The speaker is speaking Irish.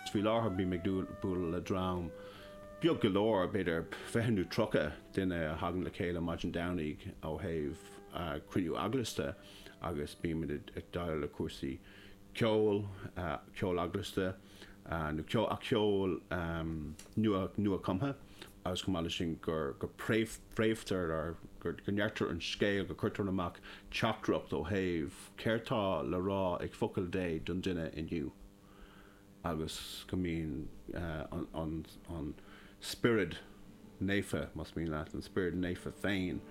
Faoi láthair bím ag bualadh le dream beag go leor, b'fhéidir 20 nó 30 duine a thagann le chéile maidin Domhnaigh ó thaobh cruinniú eaglasta agus bímid ag déileáil le cúrsaí ceoil, ceol eaglasta nó ceol nua-chumtha agus chomh maith leis sin go bpréamhtar or go ndeirtear an scéal, go gcuirtear amach teachtaireacht ó thaobh céard tá le rá ag focal Dé don duine inniu. agus go mbíonn an Spiorad Naofa, más mian leat, an Spiorad Naofa féin.